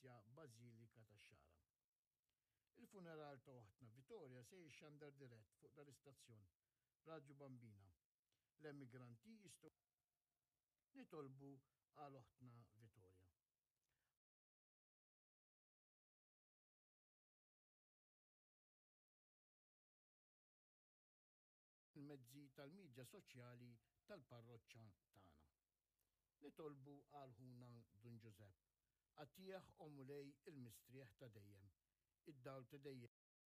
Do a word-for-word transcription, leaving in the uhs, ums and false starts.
fil-Knisja Bażilika tax-Xagħra. Il-funeral ta' oħtna Vittoria se jixxandar dirett fuq dal-istazzjon Radju Bambina. L-emigranti jistgħu nitolbu għal oħtna Vittoria. Il-mezzi tal-midja soċjali tal-parroċċa tagħna. Nitolbu għal ħuna Dun Ġużepp. Agħtih, o Mulej, il-mistrieħ ta' dejjem. Id-dawl ta' dejjem.